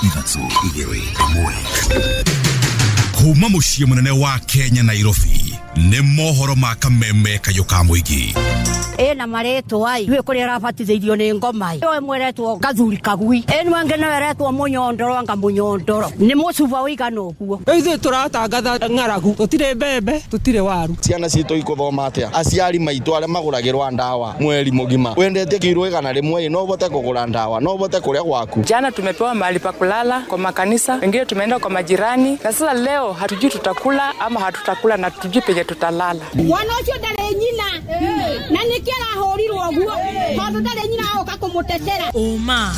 3 2 1. Kuma muciĩ mũnene wa Kenya Nairobi nĩ mohoro ma kameme kayũ ka mũingĩ. Ĩna marĩtwa ai iwe kũrĩa arabatithĩirio nĩ ngoma ĩyo ĩmwe ĩretwo gathuri kagui ĩno ĩngĩ nayo ĩretwo mũnyondoro anga mũnyondoro nĩ mũcuba ũigana ũguo. Ithuĩ tũratangatha ng'aragu, tũtirĩ mbembe, tũtirĩ waru. Ciana citũ ikuthoma atĩa? Aciari maitũ arĩa magũragĩrwa ndawa mweri mũgima, wendete kiro 100 no ũhote kũgũra ndawa, no ũhote kũrĩa gwaku. Jana tumepewa mahali pa kulala kwa makanisa, wengine tumeenda kwa majirani, na sasa leo hatujui tutakula ama hatutakula na hatujui penye tutalala. Mwana ũcio ndarĩ nyina na nĩkĩo arahũrirwo ũguo tondũ ndarĩ nyina agoka kũmũtetera. Ũma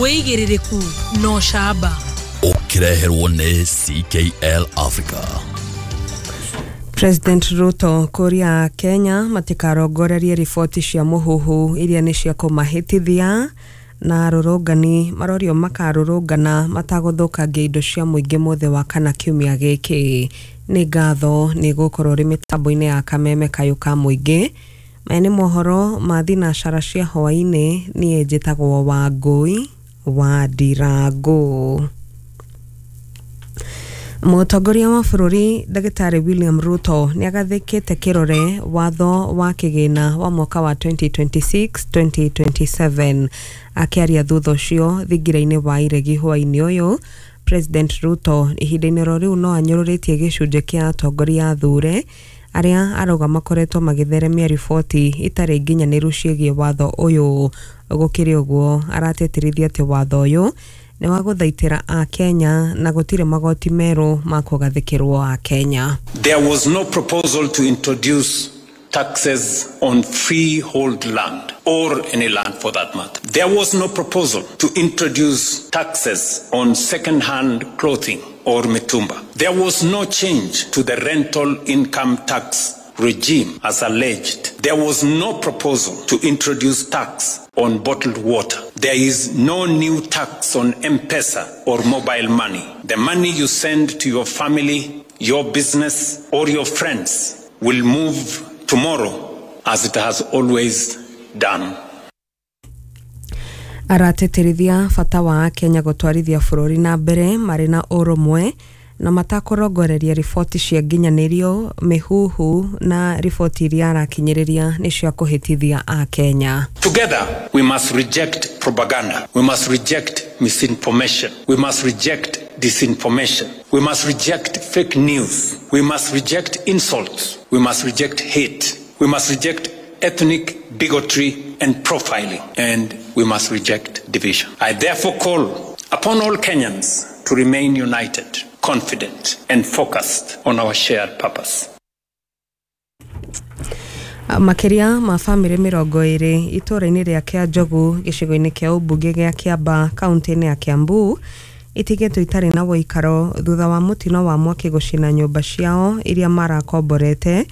wĩigĩrĩrĩku no camba ũkĩreherwo nĩ CKL Africa. President Ruto kũria Kenya matikarongorerie riboti cia mũhuhu iria nĩ cia kũmahĩtithia na arũrũngani marorio makarũrũngana matagũthũkangia indo cia mũingĩ mũthĩ wa kana kiumia gĩkĩ. Nĩ ngatho nĩ gũkorwo rĩ mĩtambo-inĩ ya kameme kayũ ka mũingĩ. Maya nĩ mohoro ma thinacara cia hwaĩ-inĩ. Niĩ njĩtagwo Wangũi wa Ndirangũ. Mũtongoria wa bũrũri Ndagĩtarĩ William Ruto nĩagathĩkĩte kĩrore watho wa kĩgĩna wa mwaka wa 2026-2027. Akĩaria thutha ũcio thingira-inĩ wa iregi hwaĩ-inĩ ũyũ, President Ruto ihinda-inĩ oro rĩu no anyũrũrĩtie gĩcunjĩ kĩa atongoria athure arĩa arauga makoretwo magĩtheremia riboti itarĩ nginyanĩru ciĩgiĩ watho ũyũ. Gũkĩrĩ ũguo aratĩtĩrithia atĩ watho ũyũ nĩ wa gũthaitĩra Akenya na gũtirĩ magoti merũ ma kũgathĩkĩrwo Akenya. There was no proposal to introduce taxes on freehold land or any land for that matter. There was no proposal to introduce taxes on second-hand clothing or mitumba. There was no change to the rental income tax regime as alleged. There was no proposal to introduce tax on bottled water. There is no new tax on M-Pesa or mobile money. The money you send to your family, your business, or your friends will move tomorrow as it has always done. Aratĩtĩrithia bata wa Kenya gũtwarithia bũrũri na mbere marĩ na ũrũmwe na matakũrongoreria riboti cia nginyanĩrio, mĩhuhu na riboti iria arakinyĩrĩria nĩ cia kũhĩtithia Akenya. Together we must reject propaganda. We must reject misinformation. We must reject disinformation. We must reject fake news. We must reject insults. We must reject hate. We must reject ethnic bigotry and profiling. And we must reject division. I therefore call upon all Kenyans to remain united, confident, and focused on our shared purpose. Makĩria ma bamĩrĩ 20 itũũra-inĩ rĩa Kĩanjogu gĩcigo-inĩ kĩa ũmbunge gĩa Kĩamba kaunti-inĩ ya Kiambu itigĩtwo itarĩ na ũikaro thutha wa mũtino wa mwaki gũcina nyũmba ciao iria marakomborete,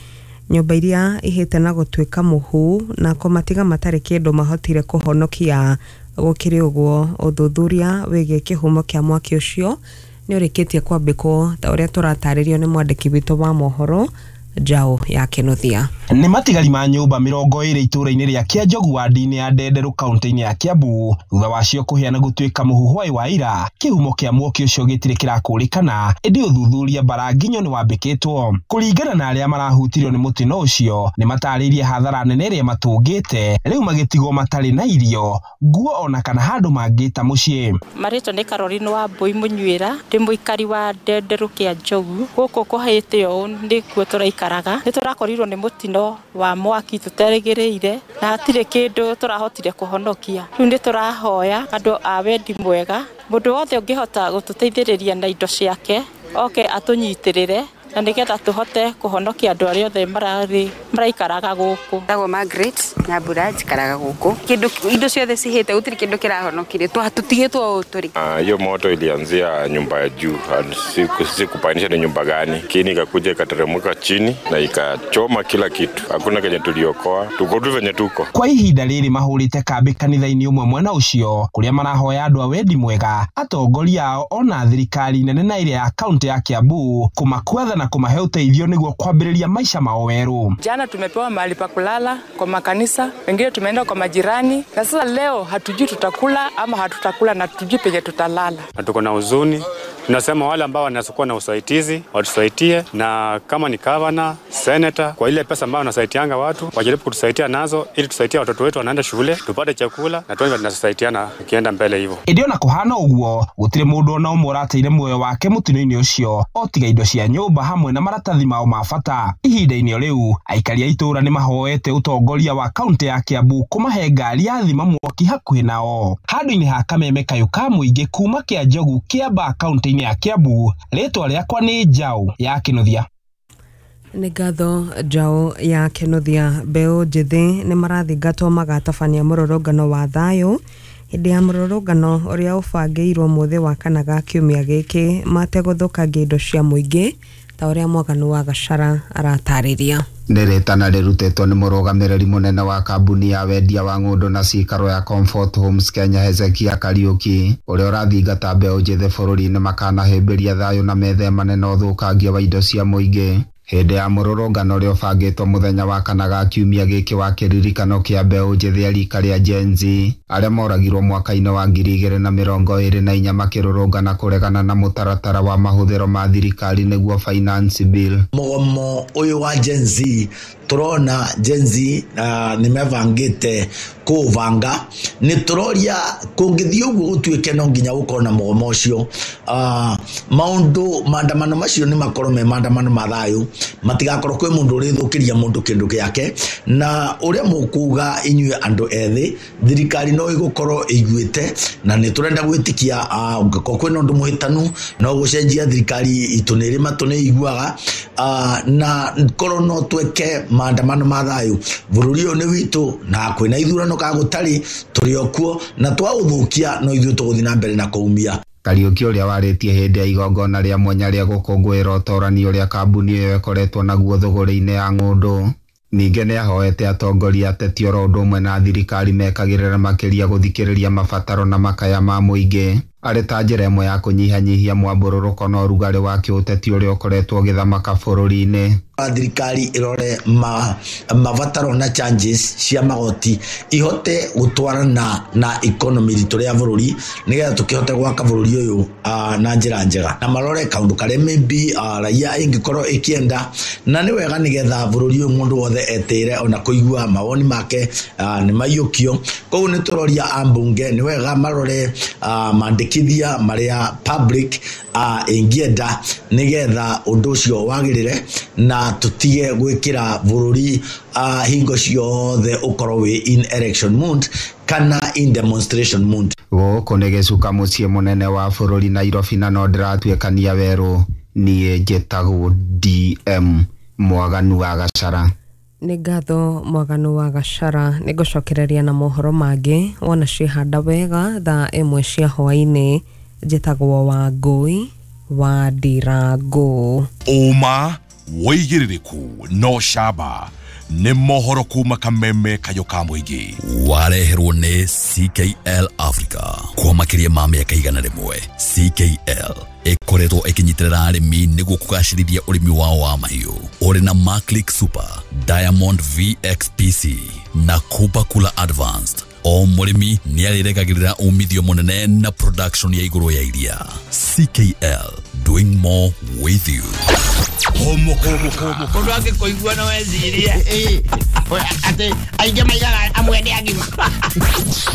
nyũmba iria ihĩte na gũtuĩka mũhu na kũmatiga matarĩ kĩndũ mahotire kũhonokia. Gũkĩrĩ ũguo ũthuthuria wĩgiĩ kĩhumo kĩa mwaki ũcio nĩ ũrĩkĩtie kwambĩkwo ta ũrĩa tũratarĩrio nĩ mwandĩki witũ wa mohoro Njaũ ya Kĩnuthia. Nĩ matigari ma nyũmba 20 itũũra-inĩ rĩa Kĩanjogu wadi-inĩ ya Ndenderũ kaunti-inĩ ya Kiambu thutha wacio kũhĩa na gũtuĩka mũhu hwaĩ wa ira. Kĩhumo kĩa mwaki ũcio gĩtirĩ kĩrakũrĩkana, ĩndĩ ũthuthuria mbaranginyo nĩ wambĩkĩtwo. Kũringana na arĩa marahutirio nĩ mũtino ũcio, nĩ matarĩirie hathara nene ĩrĩa matũngĩte, rĩu magĩtigwo matarĩ na irio, nguo ona kana handũ mangĩta mũciĩ. Marĩtwa nĩ Caroline wa Mbui Mũnyuĩra, ndĩ mũikari wa Ndenderũ Kĩanjogu. Gũkũ kũhĩte ũũ nĩkuo tũraikara. Nĩ tũrakorirwo nĩ mũtino wa mwaki tũterĩgĩrĩire na hatirĩ kĩndũ tũrahotire kũhonokia. Rĩu nĩ tũrahoya andũ a wendi mwega, mũndũ wothe ũngĩhota gũtũteithĩrĩria na indo ciake oke atũnyitĩrĩre na nĩgetha tũhote kũhonokia andũ arĩa othe maraikaraga gũkũ. Ndagwo Margaret Nyambura, njikaraga gũkũ. Kĩndũ indo ciothe cihĩte, gũtirĩ kĩndũ kĩrahonokire, tũtigĩtwo ũũ tũrĩ. Hiyo moto ilianzia nyumba ya juu, sikupaanisha ni nyumba gani, lakini ikakuja ikateremka chini na ikachoma kila kitu. Hakuna kenye tuliokoa, tuko tu venye tuko. Kwa ihinda rĩrĩ mahũrĩte kambĩ kanitha-inĩ ũmwe mwena ũcio kũrĩa marahoya andũ a wendi mwega, atongoria ao ona thirikari nene na ĩrĩa ya kaunti ya Kiambu kũmakuatha na na kũmahe ũteithio nĩguo kwambĩrĩria maisha mao werũ. Jana tumepewa mahali pa kulala kwa makanisa, wengine tumeenda kwa majirani, na sasa leo hatujui tutakula ama hatutakula na hatujui penye tutalala. Na tuko na huzuni, tunasema wale ambao wanakuwa na usaidizi watusaidie, na kama ni governor, senator, kwa ile pesa ambayo wanasaidianga watu wajaribu kutusaidia nazo ili tusaidie watoto wetu wanaenda shule, tupate chakula na tuone tunasaidiana kienda mbele hivyo. Ĩndĩ ona kũhana ũguo gũtirĩ mũndũ ona ũmwe ũrateire muoyo wake mũtino-inĩ ũcio o tiga indo cia nyũmba hamwe na maratathi mao ma bata. Ihinda-inĩ o rĩu aikari a itũũra nĩ mahoete ũtongoria wa kaunti ya Kiambu kũmahe ngari ya thima mwaki hakuhĩ nao. Handũ-inĩ ha Kameme Kayũ ka mũingĩ kuma Kĩanjogu, Kĩambaa, kaunti-inĩ ya Kiambu, rĩtwa rĩakwa nĩ Njaũ ya Kĩnuthia. Nĩ ngatho Njaũ ya Kĩnuthia. Mbeũ njĩthĩ nĩ marathingatwo magatabania mũrũrũngano wa thayũ hĩndĩ ya mũrũrũngano ũrĩa ũbangĩirwo mũthĩ wa kana ga kiumia gĩkĩ mategũthũkangia indo cia mũingĩ ta ũrĩa Mwaganu wa Gachara aratarĩria. Nĩ rĩtana rĩrutĩtwo nĩ mũrũgamĩrĩri mũnene wa kambuni ya wendia wa ng'ũndũ na cikaro ya Comfort Homes Kenya Hezekia Kariuki ũrĩa ũrathingata mbeũ njĩthĩ bũrũri-inĩ makanahĩmbĩria thayũ na methemane na ũthũkangia wa indo cia mũingĩ. Hĩndĩ ya mũrũrũngano ũrĩa ũbangĩtwo mũthenya wa kana ga kiumia gĩkĩ wa kĩririkano kĩa mbeũ njĩthĩ a rika rĩa Gen Z arĩa moragirwo mwaka-inĩ wa 2024 makĩrũrũngana kũregana na mũtaratara wa mahũthĩro ma thirikari nĩguo Finance Bill. Mũgomo ũyũ wa Gen Z tũrona Gen Z nĩ mebangĩte kũũbanga, nĩ tũroria kũngĩthiĩ ũguo gũtuĩke no nginya gũkorwo na mũgomo ũcio. Maũndũ maandamano macio nĩ makorwo me maandamano ma thayũ, matigakorwo kwĩ mũndũ ũrĩthũkĩria mũndũ kĩndũ gĩake, na ũrĩa mũkuga inyuĩ andũ ethĩ thirikari no ĩgũkorwo ĩiguĩte, na nĩ tũrenda gwĩtĩkia ũngĩkorwo kwĩna ũndũ mũhĩtanu no gũcenjia thirikari itũ nĩ ĩrĩ matũ nĩ ĩiguaga, na korwo no tweke maandamano ma thayũ. Bũrũri ũyũ nĩ witũ na kwĩna ithurano ka gũtarĩ tũrĩ o kuo, na twaũthũkia no ithuĩ tũgũthiĩ na mbere na kũumia. Kariuki ũrĩa warĩtie hĩndĩ ya igongona rĩa mwanya rĩa gũkũngũĩra ũtorani ũrĩa kambuni ĩyo ĩkoretwo naguo thũgũrĩ-inĩ ya ng'ũndũ. Ningĩ nĩahoete atongoria ateti oro ũndũ ũmwe na thirikari mekagĩrĩra makĩria gũthikĩrĩria mabataro na makaya ma mũingĩ arĩ ta njĩra ĩmwe ya kũnyihanyihia mwambũrũrũko na ũrugarĩ wa kĩũteti ũrĩa ũkoretwo ũgĩthamaka bũrũri-inĩ. Thirikari ĩrore mabataro na charges cia magoti ihote gũtwarana na economy ritũ rĩa bũrũri nĩgetha tũkĩhote gwaka bũrũri ũyũ na njĩra njega, na marore kaũndũ karĩa maybe raia ĩngĩkorwo ĩkĩenda, na nĩ wega nĩgetha bũrũri ũyũ mũndũ wothe etĩre ona kũigua mawoni make nĩ maiyũkio. Koguo nĩ tũroria ambunge nĩ wega marore mandĩkithia marĩa public ĩngĩenda nĩgetha ũndũ ũcio wagĩrĩre na tutige gwĩkĩra bũrũri hingo ciothe ũkorwo wĩ in election mood kana in demonstration mood. Gũkũ nĩ gĩcuka mũciĩ mũnene wa bũrũri Nairobi, na no ndĩratuĩkania werũ. Niĩ njĩtagwo DM Mwaganu wa Gachara. Nĩ ngatho Mwaganu wa Gachara. Nĩ ngũcokereria na mohoro mangĩ wona ciĩhanda wega thaa 1 cia hwaĩ-inĩ. Njĩtagwo Wangũi wa Ndirango. Ũma wĩigĩrĩrĩku no camba nĩ mohoro kuma Kameme Kayũ ka mũingĩ. Wareherwo nĩ CKL Africa kwa makĩria ma mĩaka 100. CKL ĩkoretwo ĩkĩnyitĩrĩra arĩmi nĩguo kũgacĩrithia ũrĩmi wao wa mahiũ. Ũrĩ na Maclick Super, Diamond VXPC na Kupa Kula Advanced. O mũrĩmi nĩ arĩregagĩrĩra umithio mũnene na production ya igũrũ ya iria. CKL, doing more with you. Mũndũ angĩkũigua no ecirie atĩ aingĩ maigaga amwe nĩ agima.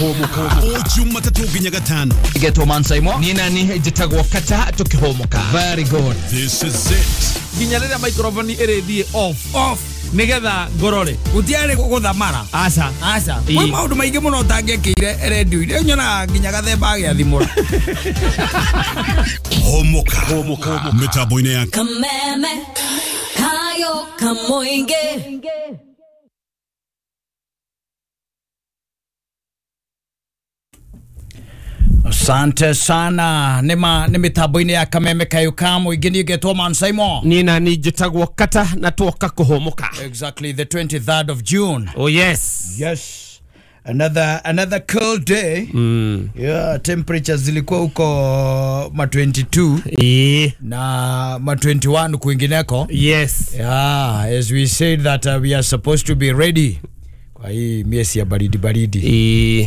O Jumatatũ nginya Gatano. Getwo Mansaimo. Niĩ nani njĩtagwo Kata tũkĩhũmũka. Very good. This is it. Nginya rĩrĩa microphone ĩrĩthiĩ off nigetha ngorore gutiarĩ gũthamara. Aca aca kwĩ maũndũ maingĩ mũno ũtangĩekĩire redio-inĩ, nyonaga nginya gathemba agĩathimũra. Homoka mĩtambo-inĩ ya Kameme Kayo Kamoinge. Asante sana. Nĩ mĩtambo-inĩ ya Kameme Kayũ ka mũingĩ. Niĩ ngetwo Mansaimo. Niĩ nani njĩtagwo Kata na twoka kũhũmũka. Exactly the 23rd of June. Oh yes. Yes. Another cold day. Yeah, temperatures zilikuwa huko ma 22 na ma 21 kwingineko. Yes. Yeah, as we said that we are supposed to be ready kwa hii miezi ya baridi baridi.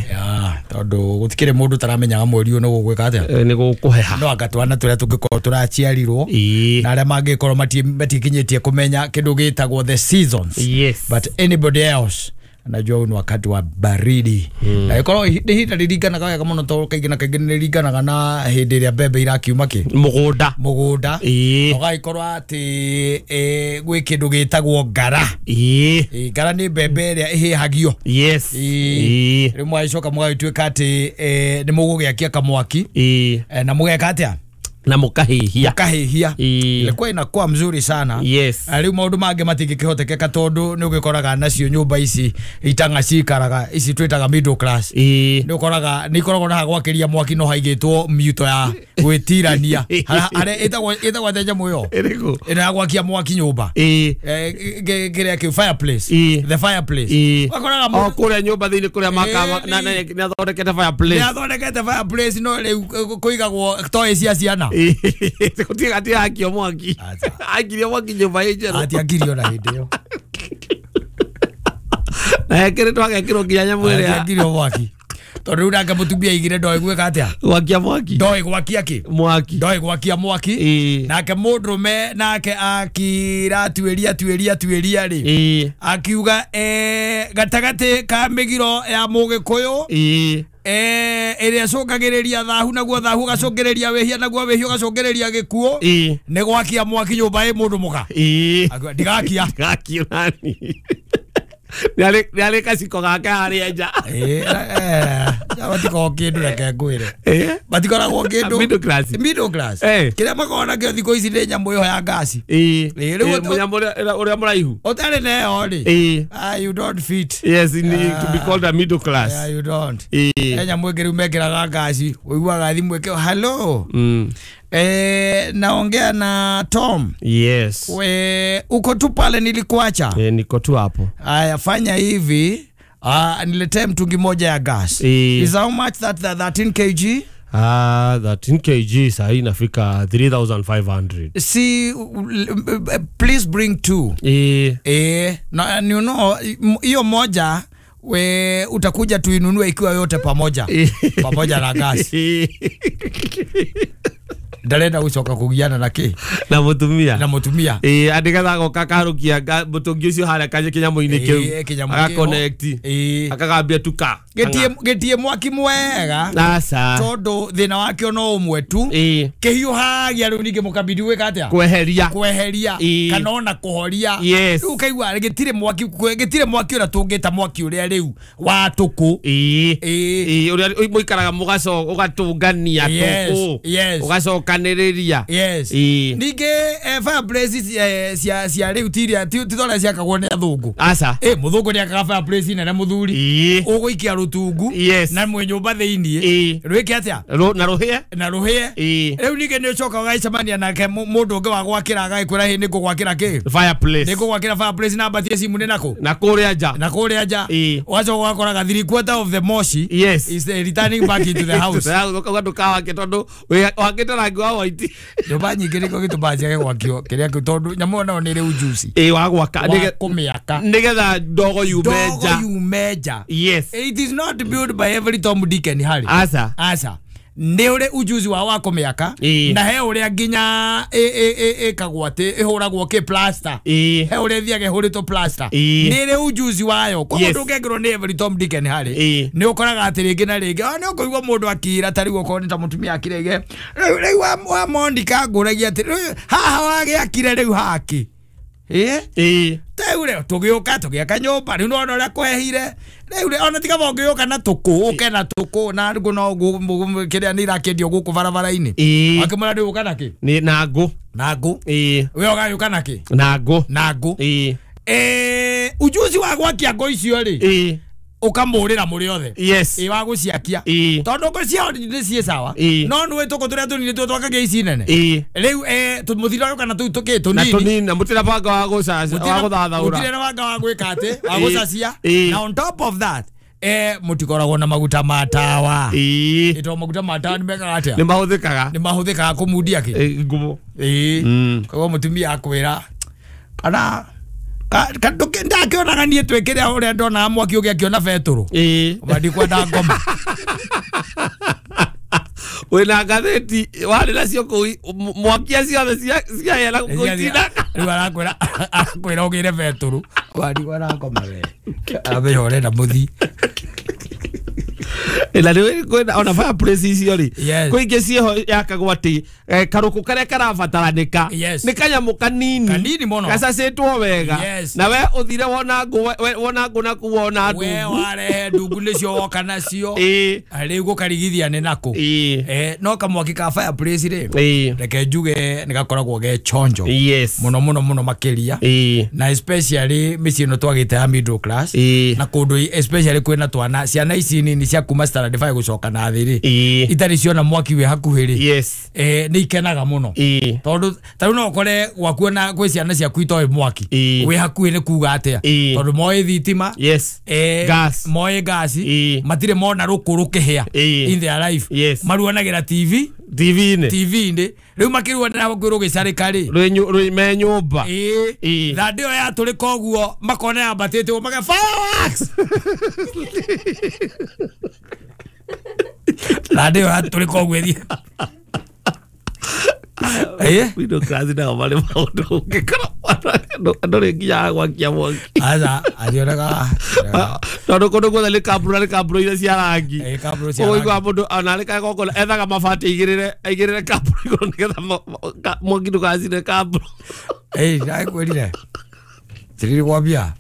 Yeah, tondu gutikire mundu taramenyaga mweri uyu no gugwika atia, ni gukuheha no anga twana turia tungikorwo turaciarirwo na aria mangikorwo matikinyitie kumenya kindu gitagwo the seasons. Yes. But anybody else anajua huu ni wakati wa baridi. Na ikorwo nĩ ihinda rĩringanaga wega mũno tondũ kaingĩ na kaingĩ nĩ rĩringanaga na hĩndĩ ĩrĩa mbembe irakiuma kĩ mũgũnda mũgũnda, ũgagĩkorwo atĩ gwĩ kĩndũ gĩtagwo ngara. Ngara nĩ mbembe ĩrĩa ĩhĩhagio. Yes. Rĩu mũgagĩcoka mũgagĩtuĩka atĩ nĩ mũgũgĩakia kamwaki na mũgeka atĩa, na mukahihia mukahihia. Ilikuwa inakuwa mzuri sana. Yes. Riu maundu mangi matingĩkĩhotekeka tondu nĩ ũgĩkoraga nacio nyũmba ici itanga cikaraga ici twĩtaga middle class, nĩ ũkoraga nĩ ikoragwo na gwakĩria mwaki no haigĩtwo miuto ya gwĩtirania harĩa ĩtagwo atĩa nyamũ ĩyo ĩno ya gwakia mwaki nyũmba, kĩrĩa kĩu fireplace, the fireplace. Ũgakoraga o kũrĩa nyũmba thĩinĩ kũrĩa maka na nĩ athondekete fireplace, nĩ athondekete fireplace, no rĩu kũigagwo toy cia ciana. Atiakio mwaki, akirio mwaki nyũmba ĩ njerũ, atiakirio na hĩndĩ ĩyo na ekĩrĩtwo agekĩrwo nginya nyamũ ĩrĩa atiakirio mwaki tondũ rĩu nake mũtumia aigire ndoĩ gwĩka atĩa, gwakia mwaki, ndoĩ gwakia kĩ mwaki, ndoĩ gwakia mwaki. Nake mũndũrũme nake akira tuĩria tuĩria tuĩria rĩ, akiuga gatagatĩ ka mĩgiro ya mũgĩkũyũ ĩrĩa ĩcũngagĩrĩria thahu, naguo thahu ũgacũngĩrĩria wĩhia, naguo wĩhia ũgacũngĩrĩria gĩkuũ, nĩ gwakia mwaki nyũmba ĩ mũndũ mũka. Ndigakia ndigakia nani nĩ arĩ kaciko gake harĩa nja. Matikoragwo kĩndũ, reke ngwĩre matikoragwo kĩndũ middle class, middle class kĩrĩa makoragwo nakĩo thikũ ici nĩ nyamũ ĩyo ya ngasi, mũnyamũ ũrĩa mũraihu ũtarĩ na ĩyo rĩ, you don't fit. Yes, to be called a middle class. Yeah, you don't. He nyamũ ĩngĩ rĩu mekĩraga ngasi, ũiguaga thimũ ĩkĩo hello, naongea na Tom. Yes. We, uko tu pale nilikuacha? Niko tu hapo. Aya, fanya hivi, niletee mtungi moja ya gas. Is how much that 13 kg? 13 kg sahi inafika 3500. See, please bring two. Na you know, hiyo moja we utakuja tuinunue ikiwa yote pamoja. Pamoja na gas. Ndarenda gucoka kugiana na ki na mutumia, na mutumia andigatha goka kaharukia mutungi ucio haria kanye kinyamu-inĩ kĩu agaconnect akagambia tuka gĩtie mwaki mwega aca tondu thĩna wakĩo no ũmwe tu kĩhiũhagia rĩu ningĩ mũkabidi gwĩka atĩa, kweheria kweheria kana ona kũhoria. Rĩu ũkaigua gĩtirĩ mwaki, gĩtirĩ mwaki ũrĩa tũngĩta mwaki ũrĩa rĩu wa tũkũ ũrĩa mũikaraga mũgacoka ũgatũngania tũkũ ũgacoka. Yes. Ningĩ fireplace cia rĩu tiria ti torĩa ciakagwo nĩ athũngũ. Aca. Mũthũngũ nĩakaga fireplace nene mũthuri ũgũikia rũtungu na mwĩ nyũmba thĩiniĩ rwĩke atĩa, na rũhĩe, na rũhĩe. Rĩu ningĩ nĩ ũcoka ũgagĩcemania nake mũndũ ũngĩ wa gwakĩra agagĩkwĩra hĩ nĩ ngũgwakĩra kĩ fireplace, nĩ ngũgwakĩra fireplace na mbatie simu nĩ nakũ, na kũrĩa nja, na kũrĩa nja. Ũgacoka ũgakoraga 3/4 of the moshi yes is returning back into the house. Ũkauga ndũkawake tondũ wakĩte rangi wa white. Nyũmba nyingĩ nĩkĩo gĩtũmaga ciage gwakio kĩrĩa kĩu tondũ nyamũ ĩyo nayo nĩ ĩrĩ ujuzi wa gwaka kũmĩaka nĩgetha ndogo yume nja, ndogo yume nja. Yes. It is not built by every Tom, Dick and Harry. Aca. Aca. Nĩ ũrĩ ujuzi wa kũmĩaka na he ũrĩa nginya ĩkagwo atĩ ĩhũragwo kĩ plaster, he ũrĩa ĩthiaga ĩhũrĩtwo plaster, nĩ ĩrĩ ujuzi wayo. Koguo ndũngĩkĩrwo nĩ every Tom, Dick and Harry. Nĩ ũkoraga atĩ rĩngĩ na rĩngĩ nĩ ũkũigua mũndũ akira ta rĩu okorwo nĩ ta mũtumia akirege rĩu wa Monica ngũragia atĩ haha wagĩakire rĩu haki rĩu rĩu tũgĩũka tũgĩaka nyũmba rĩu nĩwona ũrĩa kwehire rĩu ona tiga ũngĩũka na tũkũ ũke na tũkũ na ngũ no kĩrĩa nĩ irakĩendio gũkũ barabara-inĩ akĩmwĩra ndĩ ũka na kĩ na ngũ, na ngũ we ũgagĩũka na kĩ na ngũ, na ngũ. Ujuzi wa gwakia ngũ icio rĩ ukamurira muri othe. Yes. I wa guciakia tondu ngo ciao ni ciĩ sawa no nĩ tũkũ tũrĩa tũnini tũ twakagia ici nene rĩu mũthira kana tũu tũkĩ tũnini na tũnini na mũtirĩ banga wa gũcacia wa gũthathaũra mũtirĩ na banga wa gwĩka atĩ wa gũcacia na on top of that Mutikoragwo na maguta ma tawa. Ito maguta ma tawa nimekaga atia? Ni mahuthikaga. Ni mahuthikaga kumudia ki? Ngumo. Koguo mutumia akwira kana ndakionaga niĩ twĩkĩre ũrĩa ndonaga mwaki ũngĩ akĩona betũrũ. Ona ndikwenda ngoma. Wĩna ngathĩti warĩ nacio kũu mwakia ciothe ciahĩa na gũitina. Rĩu arakwĩra ũgĩre betũrũ. Ona ndikwenda ngoma we. Amenya ũrenda mũthi. Na rĩu kwĩna ona fireplace icio rĩ kwĩ ingĩ ciĩho yakagwo atĩ karũkũ karĩa karabataranĩka nĩ kanyamũ kanini kanini mũno gacacĩtwo wega na we ũthire wona ngũ na kuu wona ndungu we warehe ndungu nĩcio woka nacio rĩu gũkarigithia nĩ nakũ no kamwaki ka fireplace rĩ reke njuge nĩ gakoragwo ge chonjo mũno mũno mũno makĩria na especially mĩciĩ ĩno twagĩte ya middle class na kũndũ especially kwĩna twana ciana ici nini cia kuma standard 5 gucoka na thĩ rĩ itarĩ ciona mwaki wĩ hakuhĩ rĩ nĩ ikenaga mũno tondũ ta rĩu no ũkore gwaku ona gwĩ ciana ciaku itoĩ mwaki wĩ hakuhĩ nĩ kuga atĩa tondũ moĩ thitima moĩ gasi matirĩ mona rũkũ rũkĩhĩa in their life maruanagĩra TV-inĩ rĩu makĩruanĩra hakuhĩ rũgĩcarĩka rĩ me nyũmba thandĩ ĩyo yatũrĩka ũguo makona yambatĩte ũguo maka fireworks thandĩ ĩyo yatũrĩka ũguo ĩthiĩ Middle class nao marĩ maũndũ ũngĩkora andũ rĩ nginya gwakia mwaki aca ationaga tondũ kũndũ guothe nĩ kambura nĩ kambura iria cia rangi ũguo mũndũ ona arĩ kagongona ethaga mabati aigĩrĩre kambura igũrũ nĩgetha mwaki ndũgacine kambura. Ndakwĩrire tiririkwambia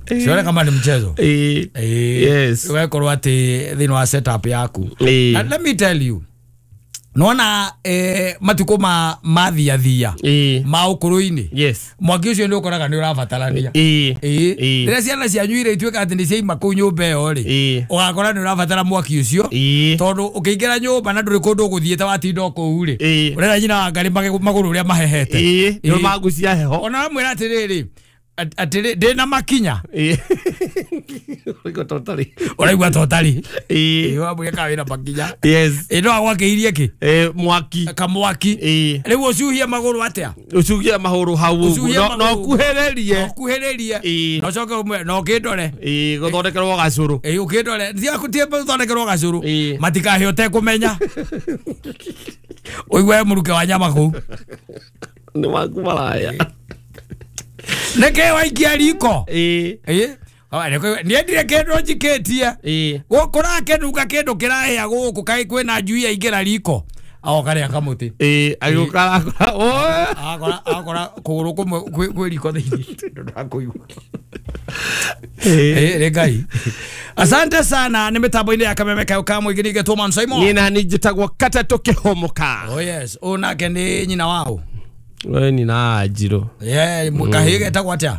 sione kama ni mchezo. Yes. Ũgakorwo atĩ thĩinĩ wa setup yaku. And let me tell you nona matukũ ma mathiathia ma ũkũrũ-inĩ mwaki ũcio nĩ ũkoraga nĩ ũrabatarania. Rĩrĩa ciana cianyu iria ituĩka atĩ nĩ ciaima kũu nyũmba ĩyo rĩ ũgakora nĩ ũrabatara mwaki ũcio tondũ ũkĩingĩra nyũmba na ndũrĩ kũndũ ũgũthiĩte watinda o kũu rĩ ũrera nyina wa Ngarĩ magũrũ ũrĩa mahehete nĩ magucia heho ona wamwĩra atĩrĩrĩ atĩrĩ ndĩna makinya ũraigua totari wamwĩra kana wĩna makinya no agwakĩirie kĩ mwaki kamwaki rĩu ũcuhie magũrũ atĩa ũcuhie magũrũ hau ũguo no ũkuhĩrĩrie ũkuhĩrĩrie no ũcoke ũmwe no ũkĩndore gũthondekerwo gacũrũ ũkĩndore tiĩ gũthondekerwo gacũrũ matikahĩa ũtekũmenya ũigue mũruke wa nyama kũu nĩ waku maraya nĩkĩ waikia riko niendire kĩndũ njikĩtie kũrakĩnunga kĩndũ kĩrahĩa gũkũ kaĩ kwĩna njui yaingĩra riko agoka rĩa kamũtĩ agĩũka akora kũgũrũ kũmwe kwĩ riko thĩinĩ ndakũigua rĩ Ngai asante sana nĩ mĩtambo-inĩ ya Kameme Kayo ka Mũingĩ nĩgetwo Man Simon niĩ nani njĩtagwo Kata tũkĩhũmũka. Oh yes ũyũ nake nĩ nyina wao we ni na njiro kahĩ getagwo atĩa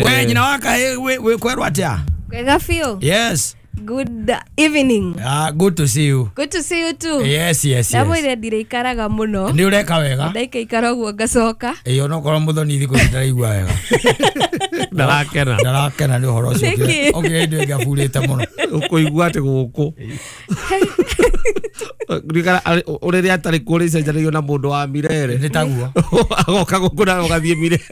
we nyina wa kahĩ wĩ kwerwo atĩa Kwega biũ. Yes. Good evening. Good to see you. Good to see you too. Yes, yes, yes. Ndamwĩre ndiraikaraga mũno. Nĩ ũreka wega. Ndaikaikara ũguo ngacoka. Onokorwo mũthoni thikũ ici ndaraigua wega. Ndarakena. Ndarakena nĩ ũhoro ũcio. Okire hĩndĩ ĩngĩ aburĩte mũno. Ũkũigua atĩ gũkũ. Ũrĩrĩa atarĩ kuo rĩcenjanagio na mũndũ wa Mirere. Nĩ taguo. Agoka gũkũ na ũgathiĩ Mirere.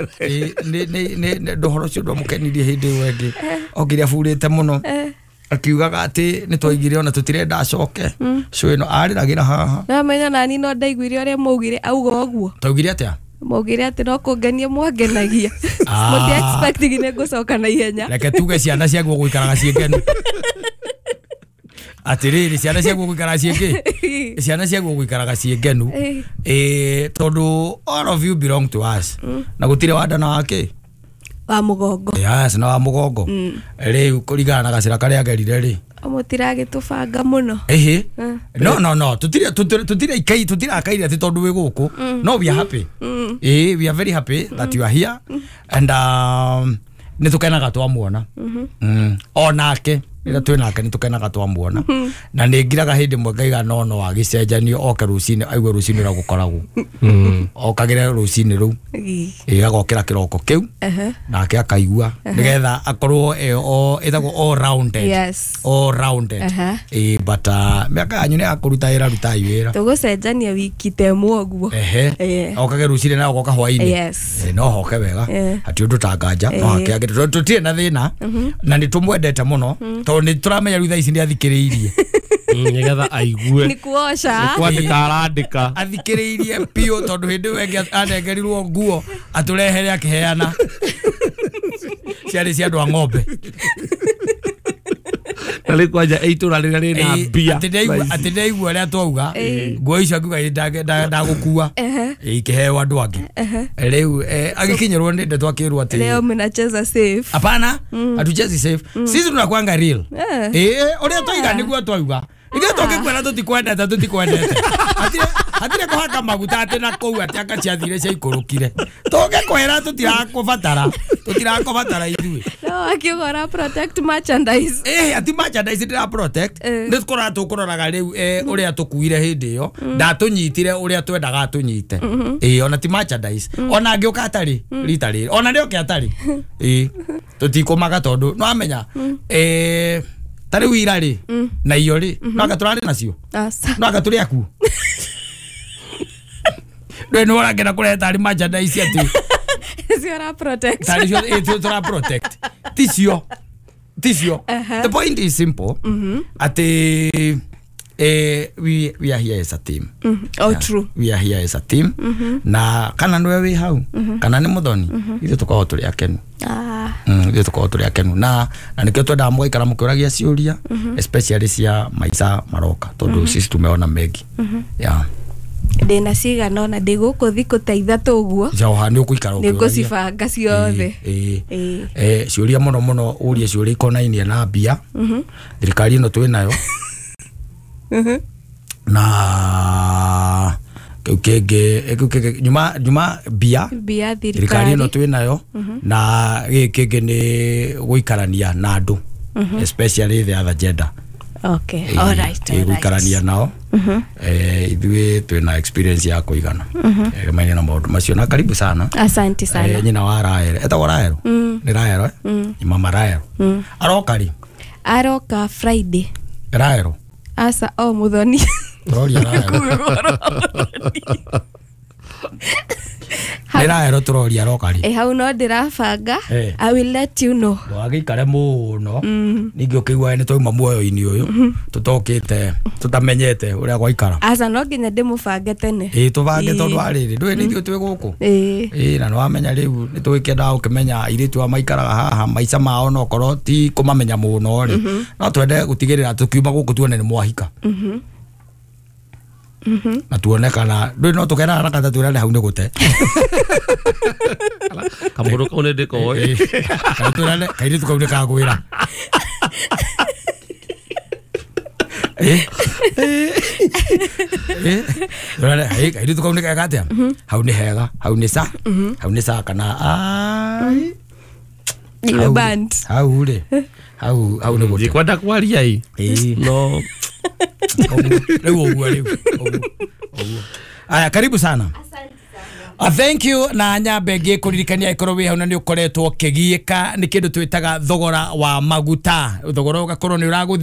Nĩ ũhoro ũcio ndwamũkenirie hĩndĩ ĩyo ĩngĩ. Okire aburĩte mũno. Akiugaga atĩ nĩ twaigire ona tũtirenda acoke cũ ĩno arĩragĩra haha no menya nani no ndaiguire ũrĩa maugire auga ũguo taugire atĩa maugire atĩ no kũngenia mwangenagia mũti expecting nĩ ngũcoka na ihenya reke tuge ciana ciaguo gũikaraga ciĩ ngenu atĩrĩrĩ ciana ciaguo gũikaraga ciĩ ngĩ ciana ciaguo gũikaraga ciĩ ngenu tondũ all of you belong to us na gũtirĩ wanda na wakĩ wa mugongo. Yes, na wa mugongo. Riu kuringana na gacira karia agerire ri. Mutiragitubanga muno. Ehe. No no no, tutire tutire ikai tutire akaire ati tondu wi guku. No, we are happy. Eh, we are very happy that you are here and nitukenaga twamuona. Onake. Rĩrĩa twĩ nake nĩ tũkenaga twamuona. Na nĩ ngiraga hĩndĩ ĩmwe ngaiga no agĩcenjanio oke rũcinĩ aigue rũcinĩ ũrĩa gũkoragwo. Okagĩre rũcinĩ rũu. Ĩ agokĩra kĩroko kĩu nake akaigua nĩgetha akorwo ĩtagwo all rounded. Yes. All rounded. Ĩ but mĩaka yanyu nĩ ya kũruta wĩra, rutai wĩra. Tũgũcenjania wiki ta ĩmwe ũguo. Ehe. Okage rũcinĩ na ogoka hwainĩ. Yes. No hoke wega. Hati ũndũ tanganja no hake angĩ tũtirĩ na thĩna na nĩ tũmwendete mũno tondũ nĩ tũramenya rĩu thaa ici nĩ athikĩrĩirie nĩgetha aigue Nĩ kuoca. Nĩ kwandĩka arandĩka. Athikĩrĩirie biũ tondũ hĩndĩ ĩyo ĩngĩ anengerirwo nguo atũrehere akĩheana ciarĩ cia andũ a ng'ombe. Na rĩu kwanja itũra rĩrĩa rĩna mbia. Atĩ ndaigua ũrĩa twauga nguo icio akiuga ndagũkua ikĩheo andũ angĩ. Rĩu agĩkinyĩrwo nĩ ndeto akĩrwo atĩ leo mnacheza safe. Hapana, hatuchezi safe. Sisi tunakuanga real. Ũrĩa twaiga nĩguo twauga. Ithuĩ tũngĩkwĩra tũtikwendete tũtikwendete. Hatirĩ kũhaka maguta atĩ na kũu atĩ anga ciathire ciaikũrũkire. Tũngĩkwĩra tũtirakũbatara. Tũtirakũbatara ithuĩ. No akiuga ora protect merchandise. Ati merchandise ndĩra protect. Nĩ tũkoraga tũkũroraga rĩu ũrĩa tũkuire hĩndĩ ĩyo. Ndatũnyitire ũrĩa twendaga atũnyite. Ona ti merchandise. Ona angĩũka atarĩ rita rĩrĩ. Ona rĩoke atarĩ. Tũtikũmaga tondũ no amenya ta rĩu ira rĩ na iyo rĩ no anga tũrarĩ nacio. No anga tũrĩ akuo. Ndũĩ nĩ ũrangena kũrehe tarĩ merchandise atĩ cio ra protect. Tarĩ cio tũra protect. Ticio. Ticio. The point is simple. Atĩ we are here as a team. Oh, true. We are here as a team. Na kana nĩwe wĩ hau kana nĩ mũthoni ithuĩ tũkoragwo tũrĩ akenu. Ithuĩ tũkoragwo tũrĩ akenu na nĩkĩo twendaga mũgaikara mũkĩũragia ciũria especially cia maica maroka tondũ sisi tumeona mengi. Yeah. Ndĩna cigana ona ndĩ gũkũ thikũ ta ithatũ ũguo. Joha nĩ ũgũikara ũkĩũragia. Nĩngũcibanga ciothe. Ciũria mũno mũno ũrie ciũria ikonainie na mbia. Thirikari ĩno twĩ nayo. Na kĩu kĩngĩ nyuma mbia thirikari ĩno twĩ nayo na gĩkĩ kĩngĩ nĩ gũikarania na andũ especially the other gender. Okay, all right. Gũikarania nao. Ithuĩ twĩna experience ya kũigana. Maine na maũndũ macio na karibu sana. Asante sana. Nyina wa Rael. Etagwo Rael? Nĩ Rael eh? Mama Rael. Aroka rĩ? Aroka Friday. Rael. Asa o muthoni. Tũroria Rael. Nĩ Rael tũroria aroka rĩ? Hau no ndĩrabanga. I will let you know. Ndũgagĩikare mũno. Ningĩ ũkĩigua nĩ twauma muoyo-inĩ ũyũ tũtokĩte tũtamenyete ũrĩa gwaikara. Aca no nginya ndĩmũbange tene. Tũbange tondũ wa rĩrĩ ndũĩ nĩ ithuĩ twĩ gũkũ. Na nĩ wamenya rĩu nĩ tũgĩkĩendaga gũkĩmenya airĩtu aya maikaraga haha maica mao no korwo ti kũmamenya mũno rĩ. No twende gũtigĩrĩra tũkiuma gũkũ tuone nĩ mwahika. Na tuone kana ndũĩ no tũkera haraka ta twĩrane hau nĩ gũte. Kamũndũ kau nĩ ndĩkoĩ. Kana twĩrane kairĩtu kau nĩ kagwĩra. Twĩrane kairĩtu kau nĩ kega atĩa? Hau nĩ hega, hau nĩ sa. Hau nĩ sa kana ai. Hau rĩ. Hau nĩ gũte. Ndikwenda kwaria ĩ. No. Rĩu ũguo rĩu. Aya, karibu sana. Thank you na nyambe ngĩkũririkania ĩkorwo wĩ hau na nĩ ũkoretwo ũkĩgiĩka nĩ kĩndũ twĩtaga thogora wa maguta. Thogora ũgakorwo nĩ ũragũthiĩ